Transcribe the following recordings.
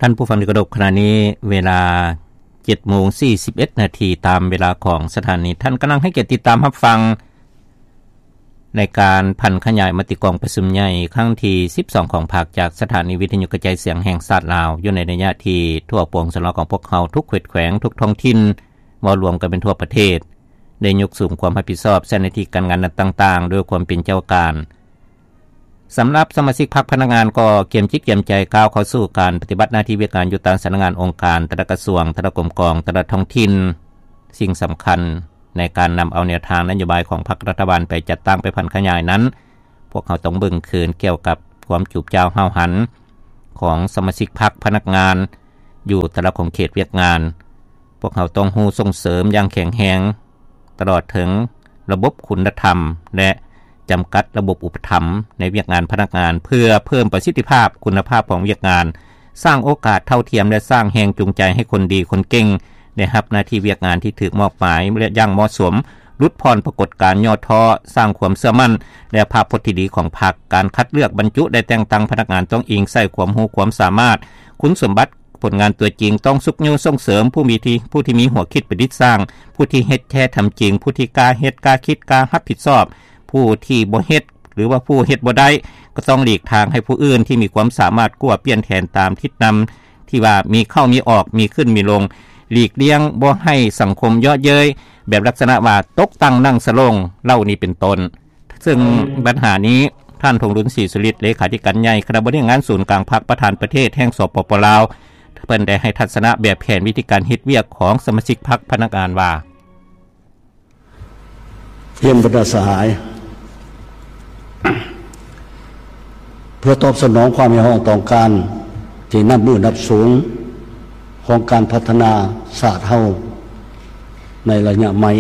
ທ່ານຜູ້ຟັງທີ່ເຄົາລົບ, ຂະນະນີ້ເວລາເຈັດໂມງສີ່ສິບເອັດນາທີຕາມເວລາຂອງສະຖານີ. ທ່ານກຳລັງໃຫ້ກຽດຕິດຕາມຮັບຟັງ ໃນການຜັນຂະຫຍາຍມະຕິກອງປະຊຸມໃຫຍ່ຄັ້ງທີສິບສອງຂອງພັກ ຈາກສະຖານີວິທະຍຸກະຈາຍສຽງແຫ່ງຊາດລາວ, ຢູ່ໃນໄລຍະທີ່ທົ່ວປວງຊົນລາວຂອງພວກເຮົາທຸກເຂດແຂວງ, ທຸກທ້ອງຖິ່ນ ເວົ້າລວມກັນເປັນທົ່ວປະເທດ ໄດ້ຍົກສູງຄວາມຮັບຜິດຊອບໃສ່ໜ້າທີ່ການງານນັ້ນຕ່າງໆ ດ້ວຍຄວາມເປັນເຈົ້າການ. ສຳລັບສະມາຊິກພັກພະນັກງານກໍກຽມຈິດກຽມໃຈກ້າວເຂົ້າສູ່ການປະຕິບັດໜ້າທີ່ວຽກງານຢູ່ຕາມສຳນັກງານ, ອົງການ, ແຕ່ລະກະຊວງ, ແຕ່ລະກົມກອງ, ແຕ່ລະທ້ອງຖິ່ນ. ສິ່ງສຳຄັນໃນການນຳເອົາແນວທາງນະໂຍບາຍຂອງພັກລັດຖະບານໄປຈັດຕັ້ງ, ໄປຜັນຂະຫຍາຍນັ້ນ, ພວກເຮົາຕ້ອງເບິ່ງຄືນກ່ຽວກັບຄວາມຈູບຈ້າວຫ້າວຫັນຂອງສະມາຊິກພັກພະນັກງານຢູ່ແຕ່ລະຂົງເຂດວຽກງານ. ພວກເຮົາຕ້ອງຮູ້ສົ່ງເສີມຢ່າງແຂງແຮງ ຕະຫຼອດເຖິງລະບົບຄຸນນະທຳ ແລະ ຈຳກັດລະບົບອຸປະຖຳໃນວຽກງານພະນັກງານ ເພື່ອເພີ່ມປະສິດທິພາບຄຸນນະພາບຂອງວຽກງານ, ສ້າງໂອກາດເທົ່າທຽມ ແລະ ສ້າງແຮງຈູງໃຈໃຫ້ຄົນດີຄົນເກັ່ງໄດ້ຮັບໜ້າທີ່ວຽກງານທີ່ຖືກມອບໝາຍ ແລະ ຢ່າງເໝາະສົມ, ຫຼຸດຜ່ອນປາກົດການຫຍໍ້ທໍ້, ສ້າງຄວາມເຊື່ອໝັ້ນ ແລະ ພາບພົດທີ່ດີຂອງພັກ. ການຄັດເລືອກບັນຈຸ ແລະ ແຕ່ງຕັ້ງພະນັກງານຕ້ອງອີງໃສ່ຄວາມຮູ້ຄວາມສາມາດ, ຄຸນສົມບັດ, ຜົນງານຕົວຈິງ, ຕ້ອງຊຸກຍູ້ສົ່ງເສີມຜູ້ມີທີ່ ຜູ້ທີ່ມີຫົວຄິດປະດິດສ້າງ, ຜູ້ທີ່ເຮັດແທ້ທຳຈິງ, ຜູ້ທີ່ກ້າເຮັດ, ກ້າຄິດ, ກ້າຮັບຜິດຊອບ. ຜູ້ທີ່ບໍ່ເຮັດ ຫຼືວ່າຜູ້ເຮັດບໍ່ໄດ້ ກໍຕ້ອງຫຼີກທາງໃຫ້ຜູ້ອື່ນທີ່ມີຄວາມສາມາດກວ່າ, ປ່ຽນແຜນຕາມທິດນຳທີ່ວ່າມີເຂົ້າມີອອກ, ມີຂຶ້ນມີລົງ, ຫຼີກລ່ຽງບໍ່ໃຫ້ສັງຄົມເຍາະເຍີ້ຍ ແບບລັກສະນະວ່າຕົກຕັ່ງນັ່ງສະຫຼົງເຫຼົ່ານີ້ເປັນຕົ້ນ. ເຊິ່ງບັນຫານີ້ ທ່ານ ທອງລຸນ ສີສຸລິດ ເລຂາທິການໃຫຍ່ຄະນະບໍລິຫານງານສູນກາງພັກ, ປະທານປະເທດແຫ່ງ ສປປ ລາວ ເພິ່ນໄດ້ໃຫ້ທັດສະນະແບບແຜນວິທີການເຮັດວຽກຂອງສະມາຊິກພັກພະນັກງານວ່າ ຮຽນບັນດາສະຫາຍ, ເພື່ອຕອບສະໜອງຄວາມຮຽກຮ້ອງຕ້ອງການທີ່ນັບມື້ນັບສູງຂອງການພັດທະນາຊາດເຮົາໃນໄລຍະໃໝ່,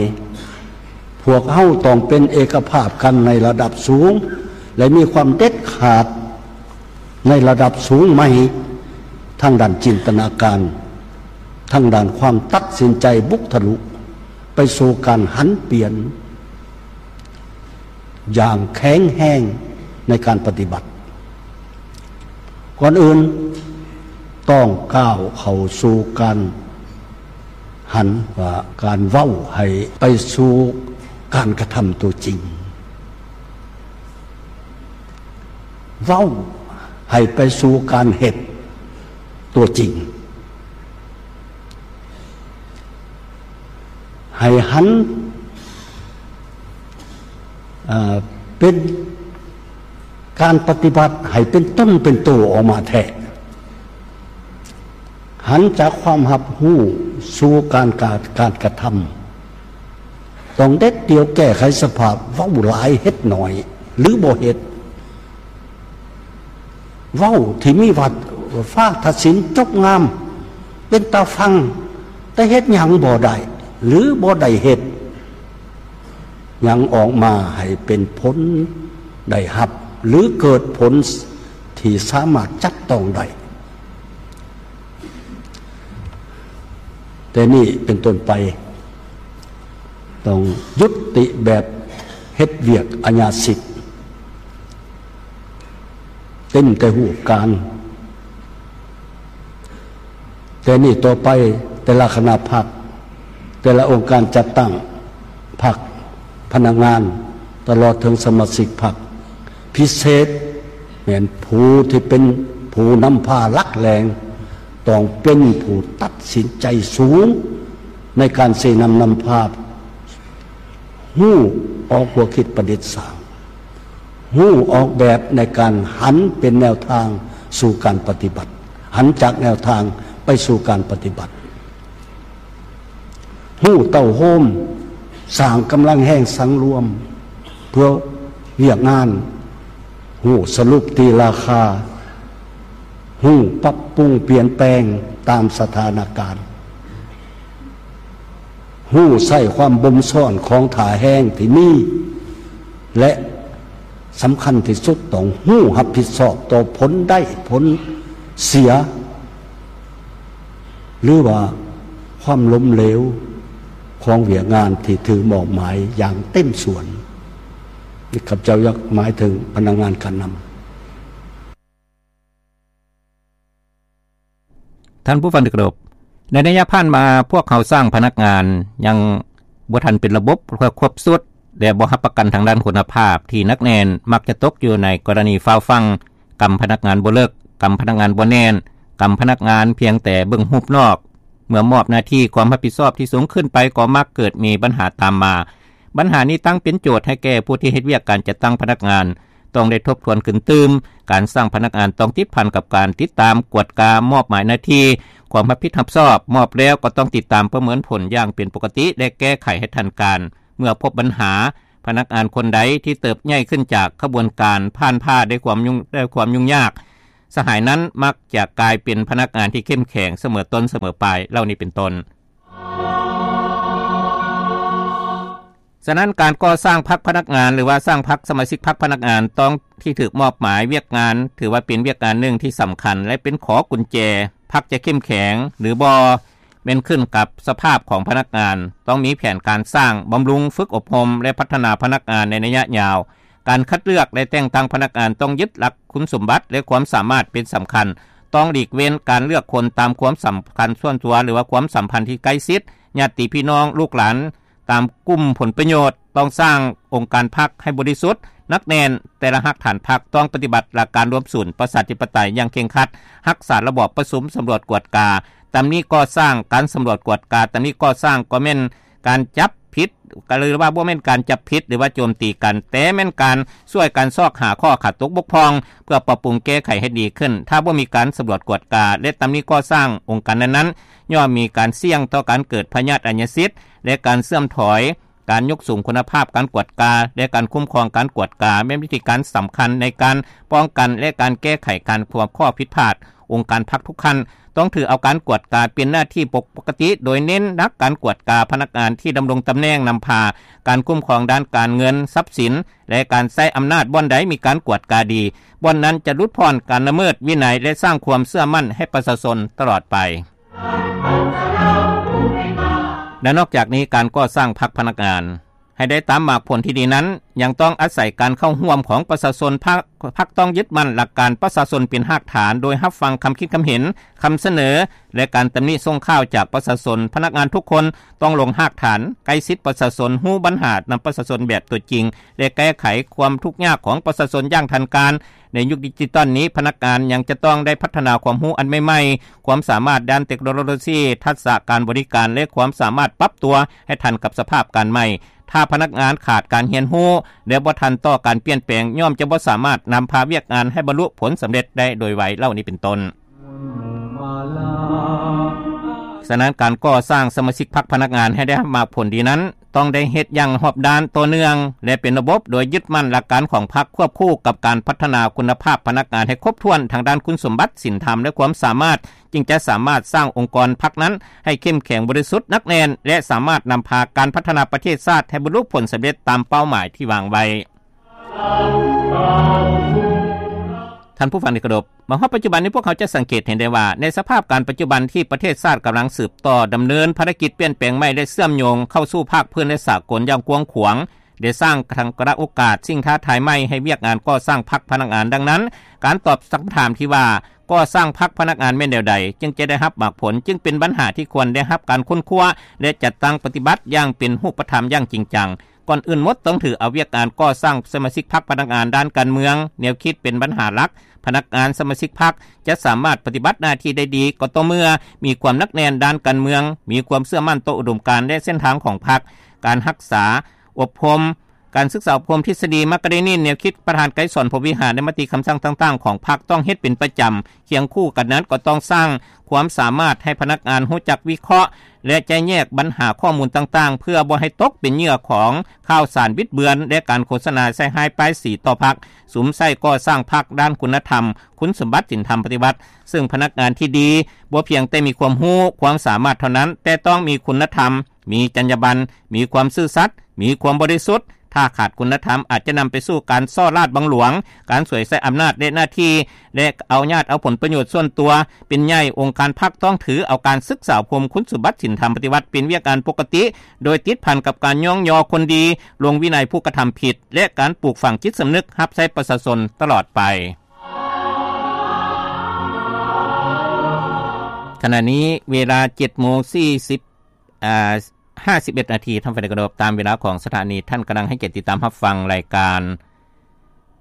ພວກເຮົາຕ້ອງເປັນເອກະພາບກັນໃນລະດັບສູງ ແລະ ມີຄວາມເດັດຂາດໃນລະດັບສູງໃໝ່ ທາງດ້ານຈິນຕະນາການ, ທາງດ້ານຄວາມຕັດສິນໃຈບຸກທະລຸ ໄປສູ່ການຫັນປ່ຽນຢ່າງແຂງແຮງໃນການປະຕິບັດ. ກ່ອນອື່ນຕ້ອງກ້າວເຂົ້າສູ່ການຫັນວ່າການເວົ້າໃຫ້ໄປສູ່ການກະທຳຕົວຈິງ, ເວົ້າໃຫ້ໄປສູ່ການເຮັດຕົວຈິງ. ໃຫ້ຫັນ ເອີ ເປັນການປະຕິບັດໃຫ້ເປັນຕົນເປັນໂຕອອກມາແທ້, ຫັນຈາກຄວາມຮັບຮູ້ສູ່ການ ການ ການກະທຳ. ຕ້ອງເດັດດ່ຽວແກ້ໄຂສະພາບເວົ້າຫຼາຍເຮັດໜ້ອຍ ຫຼື ບໍ່ເຮັດ. ເວົ້າທີ່ມີວ່າຟ້າຕັດສິນຈົບງາມ ເປັນຕາຟັງ, ແຕ່ເຮັດຫຍັງບໍ່ໄດ້ ຫຼື ບໍ່ໄດ້ເຮັດຫຍັງອອກມາໃຫ້ເປັນຜົນໄດ້ຮັບ ຫຼື ເກີດຜົນທີ່ສາມາດຈັບຕ້ອງໄດ້. ແຕ່ນີ້ເປັນຕົ້ນໄປ ຕ້ອງຍຸດຕິແບບເຮັດວຽກອາຍາສິດ ເຕັມແຕ່ຮູບການ. ແຕ່ນີ້ຕໍ່ໄປ ແຕ່ລະຄະນະພັກ, ແຕ່ລະອົງການຈັດຕັ້ງພັກ, ພະນັກງານ, ຕະຫຼອດເຖິງສະມາຊິກພັກ, ພິເສດແມ່ນຜູ້ທີ່ເປັນຜູ້ນຳພາຫຼັກແຫຼ່ງ ຕ້ອງເປັນຜູ້ຕັດສິນໃຈສູງໃນການຊີ້ນຳນຳພາ, ຮູ້ອອກຫົວຄິດປະດິດສ້າງ, ຮູ້ອອກແບບໃນການຫັນເປັນແນວທາງສູ່ການປະຕິບັດ, ຫັນຈາກແນວທາງໄປສູ່ການປະຕິບັດ. ຮູ້ເຕົ້າໂຮມ, ສ້າງກຳລັງແຮງສັງລວມເພື່ອວຽກງານ, ຮູ້ສະຫຼຸບຕີລາຄາ, ຮູ້ປັບປຸງປ່ຽນແປງຕາມສະຖານະການ, ຮູ້ໃຊ້ຄວາມບົ່ມຊ້ອນຂອງທ່າແຮງທີ່ມີ ແລະ ສຳຄັນທີ່ສຸດ ຕ້ອງຮູ້ຮັບຜິດຊອບຕໍ່ຜົນໄດ້ຜົນເສຍ ຫຼືວ່າຄວາມລົ້ມເຫຼວຂອງວຽກງານທີ່ຖືກມອບໝາຍຢ່າງເຕັມສ່ວນ. ຂ້າພະເຈົ້າຢາກໝາຍເຖິງພະນັກງານການນຳ. ທ່ານຜູ້ຟັງທີ່ເຄົາລົບ, ໃນໄລຍະຜ່ານມາ ພວກເຮົາສ້າງພະນັກງານຍັງບໍ່ທັນເປັນລະບົບ ແລະ ຄົບຊຸດ ແລະ ບໍ່ຮັບປະກັນທາງດ້ານຄຸນນະພາບທີ່ໜັກແໜ້ນ ມັກຈະຕົກຢູ່ໃນກໍລະນີຟ້າວຟັ່ງ, ກຳພະນັກງານບໍ່ເລິກ, ກຳພະນັກງານບໍ່ແໜ້ນ, ກຳພະນັກງານພຽງແຕ່ເບິ່ງຮູບນອກ. ເມື່ອມອບໜ້າທີ່ຄວາມຮັບຜິດຊອບທີ່ສູງຂຶ້ນໄປ ກໍມັກເກີດມີບັນຫາຕາມມາ. ບັນຫານີ້ຕັ້ງເປັນໂຈດໃຫ້ແກ່ຜູ້ທີ່ເຮັດວຽກການຈັດຕັ້ງພະນັກງານ ຕ້ອງໄດ້ທົບທວນຂຶ້ນຕື່ມ. ການສ້າງພະນັກງານຕ້ອງຕິດພັນກັບການຕິດຕາມ, ກວດກາ, ມອບໝາຍໜ້າທີ່, ຄວາມຮັບຜິດຮັບຊອບ, ມອບແລ້ວກໍຕ້ອງຕິດຕາມປະເມີນຜົນຢ່າງເປັນປົກກະຕິ ແລະ ແກ້ໄຂໃຫ້ທັນການ. ເມື່ອພົບບັນຫາ, ພະນັກງານຄົນໃດທີ່ເຕີບໃຫຍ່ຂຶ້ນຈາກຂະບວນການຜ່ານຜ່າໄດ້ຄວາມຫຍຸ້ງ, ໄດ້ຄວາມຫຍຸ້ງຍາກ, ສະຫາຍນັ້ນມັກຈະກາຍເປັນພະນັກງານທີ່ເຂັ້ມແຂງສະເໝີຕົ້ນສະເໝີປາຍເຫຼົ່ານີ້ເປັນຕົ້ນ. ສະນັ້ນ ການກໍ່ສ້າງພັກພະນັກງານ ຫຼືວ່າສ້າງພັກສະມາຊິກພັກພະນັກງານຕ້ອງ ທີ່ຖືກມອບໝາຍວຽກງານ ຖືວ່າເປັນວຽກງານໜຶ່ງທີ່ສຳຄັນ ແລະ ເປັນຂໍ້ກຸນແຈ ພັກຈະເຂັ້ມແຂງ ຫຼື ບໍ່ ແມ່ນຂຶ້ນກັບສະພາບຂອງພະນັກງານ. ຕ້ອງມີແຜນການສ້າງ, ບຳລຸງ, ຝຶກອົບຮົມ ແລະ ພັດທະນາພະນັກງານໃນໄລຍະຍາວ. ການຄັດເລືອກ ແລະ ແຕ່ງຕັ້ງພະນັກງານ ຕ້ອງຍຶດຫຼັກຄຸນສົມບັດ ແລະ ຄວາມສາມາດເປັນສຳຄັນ. ຕ້ອງຫຼີກເວັ້ນການເລືອກຄົນຕາມຄວາມສຳຄັນສ່ວນຕົວ ຫຼືວ່າຄວາມສຳພັນທີ່ໃກ້ຊິດ, ຍາດຕິພີ່ນ້ອງ, ລູກຫຼານ, ຕາມກຸ່ມຜົນປະໂຫຍດ. ຕ້ອງສ້າງອົງການພັກໃຫ້ບໍລິສຸດ, ໜັກແໜ້ນ. ແຕ່ລະຮາກຖານພັກຕ້ອງປະຕິບັດຫຼັກການລວມສູນປະຊາທິປະໄຕຢ່າງເຄັ່ງຄັດ, ຮັກສາລະບອບປະຊຸມ, ສຳຫຼວດກວດກາ, ຕຳໜິກໍ່ສ້າງ. ການສຳຫຼວດກວດກາ, ຕຳໜິກໍ່ສ້າງ ກໍແມ່ນການຈັບຜິດ ກໍເລີຍວ່າບໍ່ແມ່ນການຈັບຜິດ ຫຼືວ່າໂຈມຕີກັນ, ແຕ່ແມ່ນການຊ່ວຍກັນຊອກຫາຂໍ້ຂາດຕົກບົກຜ່ອງ ເພື່ອປັບປຸງແກ້ໄຂໃຫ້ດີຂຶ້ນ. ຖ້າບໍ່ມີການສຳຫຼວດກວດກາ ແລະ ຕຳໜິກໍ່ສ້າງ, ອົງການນັ້ນໆ ຍ່ອມມີການສ່ຽງຕໍ່ການເກີດພະຍາດອາຍະສິດ ແລະ ການເສື່ອມຖອຍ. ການຍົກສູງຄຸນນະພາບການກວດກາ ແລະ ການຄຸ້ມຄອງການກວດກາ ແມ່ນວິທີການສຳຄັນໃນການປ້ອງກັນ ແລະ ການແກ້ໄຂການພົບຂໍ້ຜິດພາດ. ອົງການພັກທຸກຂັ້ນຕ້ອງຖືເອົາການກວດກາເປັນໜ້າທີ່ປົກກະຕິ, ໂດຍເນັ້ນໜັກການກວດກາພະນັກງານທີ່ດຳລົງຕຳແໜ່ງນຳພາ, ການຄຸ້ມຄອງດ້ານການເງິນ, ຊັບສິນ ແລະ ການໃຊ້ອຳນາດບ່ອນໃດມີການກວດກາດີ, ບ່ອນນັ້ນຈະຫຼຸດຜ່ອນການລະເມີດວິໄນ ແລະ ສ້າງຄວາມເຊື່ອໝັ້ນໃຫ້ປະຊາຊົນຕະຫຼອດໄປ. ແລະ ນອກຈາກນີ້, ການກໍ່ສ້າງພັກພະນັກງານໃຫ້ໄດ້ຕາມໝາກຜົນທີ່ດີນັ້ນ ຍັງຕ້ອງອາໄສການເຂົ້າຮ່ວມຂອງປະຊາຊົນ. ພັກ, ພັກຕ້ອງຍຶດໝັ້ນຫຼັກການປະຊາຊົນເປັນຮາກຖານ, ໂດຍຮັບຟັງຄຳຄິດຄຳເຫັນ, ຄຳສະເໜີ ແລະ ການຕຳໜິສົ່ງຂ່າວຈາກປະຊາຊົນ. ພະນັກງານທຸກຄົນຕ້ອງລົງຮາກຖານ, ໃກ້ຊິດປະຊາຊົນ, ຮູ້ບັນຫານຳປະຊາຊົນແບບຕົວຈິງ ແລະ ແກ້ໄຂຄວາມທຸກຍາກຂອງປະຊາຊົນຢ່າງທັນການ. ໃນຍຸກດິຈິຕອນນີ້, ພະນັກງານຍັງຈະຕ້ອງໄດ້ພັດທະນາຄວາມຮູ້ອັນໃໝ່ໆ, ຄວາມສາມາດດ້ານເຕັກໂນໂລຊີ, ທັກສະການບໍລິການ ແລະ ຄວາມສາມາດປັບຕົວໃຫ້ທັນກັບສະພາບການໃໝ່. ຖ້າພະນັກງານຂາດການຮຽນຮູ້ ແລະ ບໍ່ທັນຕໍ່ການປ່ຽນແປງ, ຍ່ອມຈະບໍ່ສາມາດນຳພາວຽກງານໃຫ້ບັນລຸຜົນສຳເລັດໄດ້ໂດຍໄວເຫຼົ່ານີ້ເປັນຕົ້ນ. ສະນັ້ນ, ການກໍ່ສ້າງສະມາຊິກພັກພະນັກງານໃຫ້ໄດ້ຮັບໝາກຜົນດີນັ້ນ, ຕ້ອງໄດ້ເຮັດຢ່າງຮອບດ້ານ, ຕໍ່ເນື່ອງ ແລະ ເປັນລະບົບ, ໂດຍຍຶດໝັ້ນຫຼັກການຂອງພັກ ຄວບຄູ່ກັບການພັດທະນາຄຸນນະພາບພະນັກງານໃຫ້ຄົບຖ້ວນທາງດ້ານຄຸນສົມບັດ, ສິນທຳ ແລະ ຄວາມສາມາດ, ຈຶ່ງຈະສາມາດສ້າງອົງກອນພັກນັ້ນໃຫ້ເຂັ້ມແຂງ, ບໍລິສຸດ, ໜັກແໜ້ນ ແລະ ສາມາດນຳພາການພັດທະນາປະເທດຊາດໃຫ້ບັນລຸຜົນສຳເລັດຕາມເປົ້າໝາຍທີ່ວາງໄວ້. ທ່ານຜູ້ຟັງທີ່ເຄົາລົບ, ມາຮອດປັດຈຸບັນນີ້ ພວກເຮົາຈະສັງເກດເຫັນໄດ້ວ່າ ໃນສະພາບການປັດຈຸບັນທີ່ປະເທດຊາດກຳລັງສືບຕໍ່ດຳເນີນພາລະກິດປ່ຽນແປງໃໝ່ ແລະ ເຊື່ອມໂຍງເຂົ້າສູ່ພາກພື້ນ ແລະ ສາກົນຢ່າງກວ້າງຂວາງ, ໄດ້ສ້າງທັງໂອກາດ, ສິ່ງທ້າທາຍໃໝ່ໃຫ້ວຽກງານກໍ່ສ້າງພັກພະນັກງານ. ດັ່ງນັ້ນ, ການຕອບຄຳຖາມທີ່ວ່າ ກໍ່ສ້າງພັກພະນັກງານແມ່ນແນວໃດ ຈຶ່ງຈະໄດ້ຮັບໝາກຜົນ ຈຶ່ງເປັນບັນຫາທີ່ຄວນໄດ້ຮັບການຄົ້ນຄວ້າ ແລະ ຈັດຕັ້ງປະຕິບັດຢ່າງເປັນຮູບປະທຳຢ່າງຈິງຈັງ. ກ່ອນອື່ນໝົດ, ຕ້ອງຖືເອົາວຽກງານກໍ່ສ້າງສະມາຊິກພັກພະນັກງານດ້ານການເມືອງ, ແນວຄິດເປັນບັນຫາຫຼັກ. ພະນັກງານສະມາຊິກພັກຈະສາມາດປະຕິບັດໜ້າທີ່ໄດ້ດີ ກໍຕໍ່ເມື່ອມີຄວາມໜັກແໜ້ນດ້ານການເມືອງ, ມີຄວາມເຊື່ອໝັ້ນຕໍ່ອຸດົມການ ແລະ ເສັ້ນທາງຂອງພັກ. ການຮັກສາ, ອົບຮົມ, ການສຶກສາອົບຮົມທິດສະດີມາກາເດນິນ, ແນວຄິດປະທານໄກສອນ ພົມວິຫານ ແລະ ມະຕິຄຳສັ່ງຕ່າງໆຂອງພັກ ຕ້ອງເຮັດເປັນປະຈຳ. ຄຽງຄູ່ກັນນັ້ນ, ກໍຕ້ອງສ້າງຄວາມສາມາດໃຫ້ພະນັກງານຮູ້ຈັກວິເຄາະ ແລະ ແຈກແຍກບັນຫາຂໍ້ມູນຕ່າງໆ ເພື່ອບໍ່ໃຫ້ຕົກເປັນເຫຍື່ອຂອງຂ່າວສານບິດເບືອນ ແລະ ການໂຄສະນາໃສ່ຮ້າຍປ້າຍສີຕໍ່ພັກ. ສຸມໃສ່ກໍ່ສ້າງພັກດ້ານຄຸນນະທຳ, ຄຸນສົມບັດ, ສິນທຳປະຕິວັດ, ເຊິ່ງພະນັກງານທີ່ດີບໍ່ພຽງແຕ່ມີຄວາມຮູ້, ຄວາມສາມາດເທົ່ານັ້ນ, ແຕ່ຕ້ອງມີຄຸນນະທຳ, ມີຈັນຍາບັນ, ມີຄວາມຊື່ສັດ, ມີຄວາມບໍລິສຸດ. ຖ້າຂາດຄຸນນະທຳ, ອາດຈະນຳໄປສູ່ການສໍ້ລາດບັງຫຼວງ, ການສວຍໃຊ້ອຳນາດ ແລະ ໜ້າທີ່ ແລະ ເອົາຍາດເອົາຜົນປະໂຫຍດສ່ວນຕົວເປັນໃຫຍ່. ອົງການພັກຕ້ອງຖືເອົາການສຶກສາອົບຮົມ, ຄຸນສົມບັດ, ສິນທຳປະຕິວັດ ເປັນວຽກງານປົກກະຕິ, ໂດຍຕິດພັນກັບການຍ້ອງຍໍຄົນດີ, ລົງວິໄນຜູ້ກະທຳຜິດ ແລະ ການປູກຝັງຈິດສຳນຶກຮັບໃຊ້ປະຊາຊົນຕະຫຼອດໄປ. ຂະນະນີ້ເວລາເຈັດໂມງສີ່ສິບ ອາ ຫ້າສິບເອັດນາທີ ທ່ານຜູ້ຟັງທີ່ເຄົາລົບ, ຕາມເວລາຂອງສະຖານີ. ທ່ານກຳລັງໃຫ້ກຽດຕິດຕາມຮັບຟັງລາຍກາ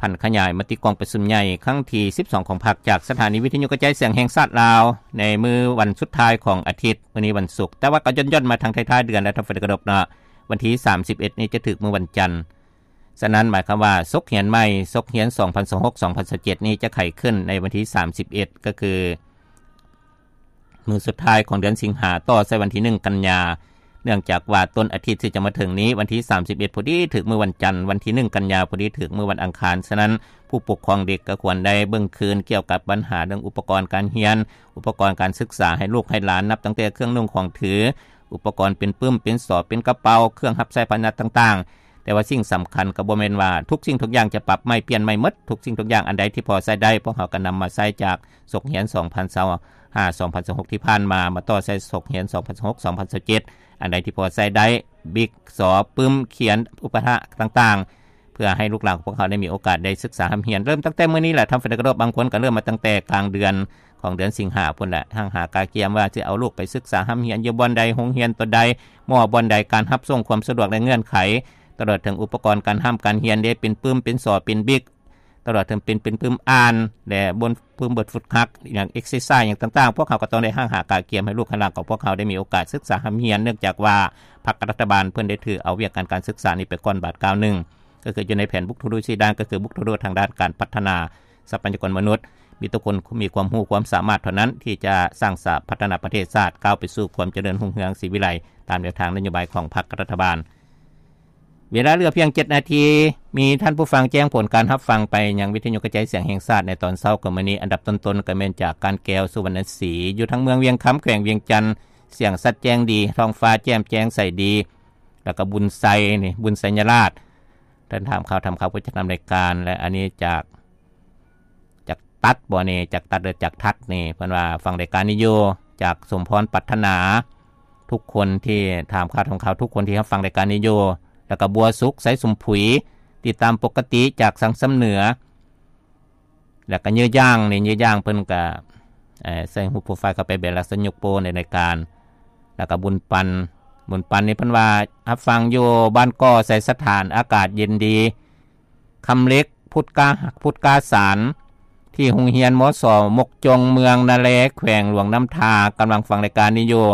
ນຜັນຂະຫຍາຍມະຕິກອງປະຊຸມໃຫຍ່ຄັ້ງທີສິບສອງຂອງພັກ ຈາກສະຖານີວິທະຍຸກະຈາຍສຽງແຫ່ງຊາດລາວ ໃນມື້ວັນສຸດທ້າຍຂອງອາທິດ, ມື້ນີ້ວັນສຸກ, ແຕ່ວ່າກໍຢ່ອນໆມາທາງທ້າຍໆເດືອນແລ້ວ ທ່ານຜູ້ຟັງທີ່ເຄົາລົບເນາະ, ວັນທີສາມສິບເອັດນີ້ຈະຖືກມື້ວັນຈັນ. ສະນັ້ນໝາຍຄວາມວ່າສົກຮຽນໃໝ່, ສົກຮຽນສອງພັນຊາວຫົກ ສອງພັນຊາວເຈັດນີ້ຈະໄຂຂຶ້ນໃນວັນທີສາມສິບເອັດ ກໍຄື ມື້ສຸດທ້າຍຂອງເດືອນສິງຫາ ຕໍ່ໃສ່ວັນທີໜຶ່ງກັນຍາ, ເນື່ອງຈາກວ່າຕົ້ນອາທິດທີ່ຈະມາເຖິງນີ້ ວັນທີສາມສິບເອັດ ພໍດີຖືກມື້ວັນຈັນ, ວັນທີໜຶ່ງກັນຍາ ພໍດີຖືກມື້ວັນອັງຄານ. ສະນັ້ນ ຜູ້ປົກຄອງເດັກກໍຄວນໄດ້ເບິ່ງຄືນກ່ຽວກັບບັນຫາເລື່ອງອຸປະກອນການຮຽນ, ອຸປະກອນການສຶກສາໃຫ້ລູກໃຫ້ຫຼານ, ນັບຕັ້ງແຕ່ເຄື່ອງນຸ່ງຂອງຖື, ອຸປະກອນເປັນປຶ້ມ, ເປັນສອບ, ເປັນກະເປົາ, ເຄື່ອງຮັບໃຊ້ພາຫະນະຕ່າງໆ. ແຕ່ວ່າສິ່ງສຳຄັນກໍບໍ່ແມ່ນວ່າທຸກສິ່ງທຸກຢ່າງຈະປັບໃໝ່ປ່ຽນໃໝ່ໝົດ, ທຸກສິ່ງທຸກຢ່າງອັນໃດທີ່ພໍໃຊ້ໄດ້ ພວກເຮົາກໍນຳມາໃຊ້ຈາກສົກຮຽນສອງພັນຊາວຫ້າ ສອງພັນຊາວຫົກທີ່ຜ່ານມາ ມາຕໍ່ໃສ່ສົກຮຽນສອງພັນຊາວຫົກ ສອງພັນຊາວເຈັດ, ອັນໃດທີ່ພໍໃຊ້ໄດ້ ບິກ ສອບ, ປຶ້ມ, ຂຽນ, ອຸປະຖະຕ່າງໆ ເພື່ອໃຫ້ລູກຫຼານຂອງພວກເຮົາໄດ້ມີໂອກາດໄດ້ສຶກສາຮ່ຳຮຽນ. ເລີ່ມຕັ້ງແຕ່ມື້ນີ້ແຫຼະ ທ່ານຜູ້ຟັງທີ່ເຄົາລົບ, ບາງຄົນກໍເລີ່ມມາຕັ້ງແຕ່ກາງເດືອນຂອງເດືອນສິງຫາພຸ້ນແຫຼະ, ຫ້າງຫາກະກຽມວ່າຊິເອົາລູກໄປສຶກສາຮ່ຳຮຽນຢູ່ບ່ອນໃດ, ໂຮງຮຽນຕົວໃດ, ໝໍບ່ອນໃດ, ການຮັບສົ່ງ, ຄວາມສະດວກ ແລະ ເງື່ອນໄຂ, ຕະຫຼອດເຖິງອຸປະກອນການຮ່ຳການຮຽນເດ້, ເປັນປຶ້ມ, ເປັນສອບ, ເປັນບິກ, ຕະຫຼອດເຖິງເປັນ ເປັນປຶ້ມອ່ານ ແລະ ບົນປຶ້ມບົດຝຶກຫັດ ຢ່າງ exercise ຫຍັງຕ່າງໆ, ພວກເຮົາກໍຕ້ອງໄດ້ຫ້າງຫາກະກຽມໃຫ້ລູກໃຫ້ຫຼານຂອງພວກເຮົາໄດ້ມີໂອກາດສຶກສາຮ່ຳຮຽນ, ເນື່ອງຈາກວ່າພັກລັດຖະບານເພິ່ນໄດ້ຖືເອົາວຽກງານການສຶກສານີ້ໄປກ່ອນບາດກ້າວໜຶ່ງ, ກໍຄືຢູ່ໃນແຜນບຸກທຸກດ້ວຍສີ່ດ້ານ, ກໍຄືບຸກທຸກດ້ວຍທາງດ້ານການພັດທະນາຊັບພະຍາກອນມະນຸດ, ມີແຕ່ຄົນມີຄວາມຮູ້ຄວາມສາມາດເທົ່ານັ້ນທີ່ຈະສ້າງສາພັດທະນາປະເທດຊາດ ກ້າວໄປສູ່ຄວາມຈະເລີນຮຸ່ງເຮືອງສີວິໄລ ຕາມແນວທາງນະໂຍບາຍຂອງພັກລັດຖະບານ. ເວລາເຫຼືອພຽງເຈັດນາທີ, ມີທ່ານຜູ້ຟັງແຈ້ງຜົນການຮັບຟັງໄປຍັງວິທະຍຸກະຈາຍສຽງແຫ່ງຊາດໃນຕອນເຊົ້າຂອງມື້ນີ້. ອັນດັບຕົ້ນໆກໍແມ່ນຈາກການແກ້ວ ສຸວັນນະສີ ຢູ່ທາງເມືອງວຽງຄຳ ແຂວງວຽງຈັນ, ສຽງຊັດແຈ້ງດີ, ທ້ອງຟ້າແຈ່ມແຈ້ງໃສດີ, ແລ້ວກໍບຸນໄຊນີ້, ບຸນໄຊຍະລາດ. ທ່ານຖາມຂ່າວ, ຖາມຂ່າວຜູ້ຈັດດຳລາຍການ, ແລະ ອັນນີ້ຈາກ ຈາກຕັດບໍ່ນີ້, ຈາກຕັດ ຫຼື ຈາກທັດນີ້, ເພິ່ນວ່າຟັງລາຍການນີ້ຢູ່, ຈາກສົມພອນປັດຖະໜາ, ທຸກຄົນທີ່ຖາມຂ່າວ, ຖາມຂ່າວ, ທຸກຄົນທີ່ຮັບຟັງລາຍການນີ້ຢູ່, ແລ້ວກໍບົວສຸກ ໄຊສົມຜຸຍ, ຕິດຕາມປົກກະຕິຈາກສັງສຳເໜືອ, ແລ້ວກໍເຍື້ອຢ່າງນີ້, ເຍື້ອຢ່າງເພິ່ນກໍ ເອີ ໃສ່ຮູບໂປຣໄຟລ໌ເຂົ້າໄປແບບລັກສະຍະຍົກໂປ້ໃນລາຍການ, ແລ້ວກໍບຸນປັນ, ບຸນປັນນີ້ເພິ່ນວ່າຮັບຟັງຢູ່ບ້ານກໍໄຊສະຖານ, ອາກາດເຢັນດີ. ຄຳເລັກ ພຸດກາ, ພຸດກາສານ ທີ່ໂຮງຮຽນ ມສ ມົກຈົງ ເມືອງນາແລ ແຂວງຫຼວງນ້ຳທາ ກຳລັງຟັງລາຍການນີ້ຢູ່,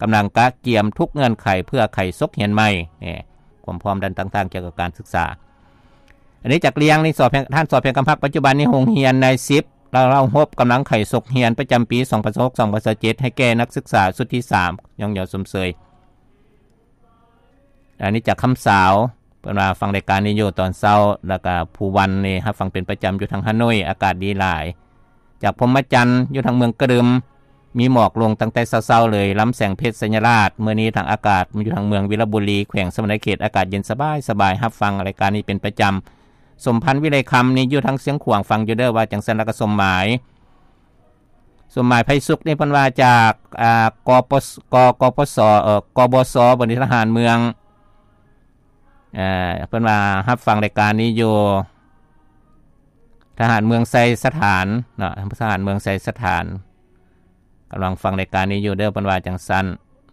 ກຳລັງກະກຽມທຸກເງື່ອນໄຂເພື່ອໄຂສົກຮຽນໃໝ່. ນີ້ ຄວາມພ້ອມດ້ານຕ່າງໆກ່ຽວກັບການສຶກສາ. ອັນນີ້ຈາກລຽງນີ້ ສອບແພງ, ທ່ານ ສອບແພງຄຳພັກ, ປັດຈຸບັນນີ້ໂຮງຮຽນນາຍສິບ ລາວເຮົາຮົບ ກຳລັງໄຂສົກຮຽນປະຈຳປີສອງພັນຊາວຫົກ ສອງພັນຊາວເຈັດ ໃຫ້ແກ່ນັກສຶກສາຊຸດທີສາມ ຍ້ອງຍໍຊົມເຊີຍ. ອັນນີ້ຈາກຄຳສາວ, ເພິ່ນວ່າຟັງລາຍການນີ້ຢູ່ຕອນເຊົ້າ, ແລ້ວກະພູວັນນີ້ຮັບຟັງເປັນປະຈຳຢູ່ທາງຮ່າໂນ້ຍ, ອາກາດດີຫຼາຍ. ຈາກພົມມະຈັນ ຢູ່ທາງເມືອງກະດຶມ, ມີໝອກລົງຕັ້ງແຕ່ເຊົ້າໆເລີຍ. ລຳແສງເພັດ ໄຊຍະລາດ, ມື້ນີ້ທາງອາກາດຢູ່ທາງເມືອງວິລະບູລີ ແຂວງສະຫວັນນະເຂດ, ອາກາດເຢັນສະບາຍໆ, ຮັບຟັງລາຍການນີ້ເປັນປະຈຳ. ສົມພັນ ວິໄລຄຳ ນີ້ຢູ່ທາງຊຽງຂວາງ, ຟັງຢູ່ເດີວ່າຈັ່ງຊັ້ນ. ແລ້ວກະສົມໝາຍ ສົມໝາຍ ໄພສຸກ ນີ້ເພິ່ນວ່າຈາກ ອາ ກປສ ກ ກປສ ເອີ ກບສ ບໍນີ້ ທະຫານເມືອງ, ເອີ ເພິ່ນວ່າຮັບຟັງລາຍການນີ້ຢູ່ ທະຫານເມືອງໄຊສະຖານເນາະ, ທະຫານເມືອງໄຊສະຖານ ກຳລັງຟັງລາຍການນີ້ຢູ່ເດີ ເພິ່ນວ່າຈັ່ງຊັ້ນ.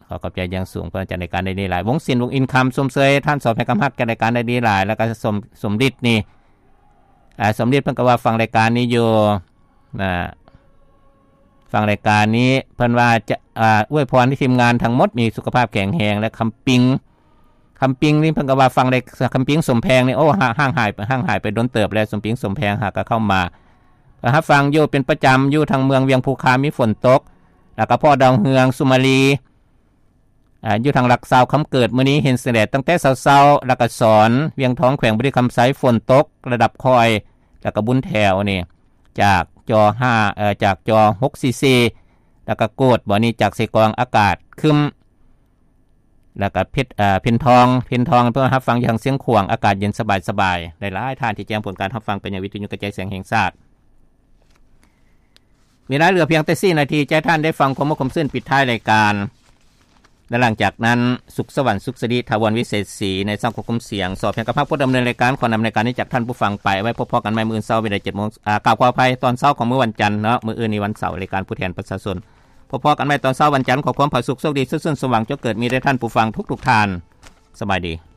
ຂໍຂອບໃຈຢ່າງສູງ ເພິ່ນຈັດລາຍການໄດ້ດີຫຼາຍ. ວົງສິນ ວົງອິນຄຳ ຊົມເຊີຍທ່ານ ສອບແພງຄຳຮັກ ຈັດລາຍການໄດ້ດີຫຼາຍ. ແລ້ວກໍ ສົມ ສົມລິດນີ້ ອາ ສົມລິດ ເພິ່ນກໍວ່າຟັງລາຍການນີ້ຢູ່ ນະ ຟັງລາຍການນີ້ ເພິ່ນວ່າຈະ ອາ ອວຍພອນໃຫ້ທີມງານທັງໝົດມີສຸຂະພາບແຂງແຮງ ແລະ ຄຳປິງ ຄຳປິງນີ້ເພິ່ນກໍວ່າຟັງໄດ້ ຄຳປິງ ສົມແພງນີ້ ໂອ້ ຫ່າງ ຫ່າງຫາຍ ຫ່າງຫາຍໄປດົນເຕີບແລ້ວ ສົມປິງ ສົມແພງ ຫາກະເຂົ້າມາ ກໍຮັບຟັງຢູ່ເປັນປະຈຳ ຢູ່ທາງເມືອງວຽງພູຄາມີຝົນຕົກ ແລ້ວກໍພໍ່ດາວເຮືອງ ສຸມາລີ ອາ ຢູ່ທາງຫຼັກຊາວຄຳເກີດ ມື້ນີ້ເຫັນແສງແດດຕັ້ງແຕ່ເຊົ້າໆ ແລ້ວກໍສອນ ວຽງທອງ ແຂວງບໍລິຄຳໄຊ ຝົນຕົກ ລະດັບຄ່ອຍ ແລ້ວກໍບຸນແຖວນີ້ ຈາກຈໍຫ້າ ເອີ ຈາກຈໍຫົກສີ່ສີ່ ແລ້ວກໍໂກດ ບໍ່ນີ້ຈາກເຊກອງ ອາກາດຄຶ້ມ ແລ້ວກໍເພັດ ເອີ ເພັນທອງ ເພັນທອງ ເພິ່ນຮັບຟັງຢູ່ທາງຊຽງຂວາງ ອາກາດເຢັນສະບາຍໆ ຫຼາຍໆທ່ານທີ່ແຈ້ງຜົນການຮັບຟັງໄປຍັງວິທະຍຸກະຈາຍສຽງແຫ່ງຊາດ. ເວລາເຫຼືອພຽງແຕ່ສີ່ນາທີ ຈະໃຫ້ທ່ານໄດ້ຟັງຄວາມມ່ວນຄວາມຊື່ນປິດທ້າຍລາຍການ ແລະ ຫຼັງຈາກນັ້ນ ສຸກສະຫວັນ ສຸກສິລິ ຖາວອນ ວິເສດສີ ໃນຊ່ອງຄວບຄຸມສຽງ ສອບແພງຄຳພັກ ຜູ້ດຳເນີນລາຍການ ຂໍນຳລາຍການນີ້ຈາກທ່ານຜູ້ຟັງໄປ. ໄວ້ພົບພໍ້ກັນໃໝ່ມື້ເຊົ້າເວລາເຈັດໂມງ ອາ ກ່າວຂໍອະໄພ ຕອນເຊົ້າຂອງມື້ວັນຈັນເນາະ, ມື້ອື່ນນີ້ວັນເສົາ ລາຍການຜູ້ແທນປະຊາຊົນ. ໂພ ພົບກັນໃໝ່ຕອນເຊົ້າວັນຈັນ ຂໍຄວາມຜາສຸກ ໂຊກດີ ສຸກຊົນ ສົມຫວັງ ຈົ່ງເກີດມີແດ່ທ່ານຜູ້ຟັງທຸກໆທ່ານ. ສະບາຍດີ.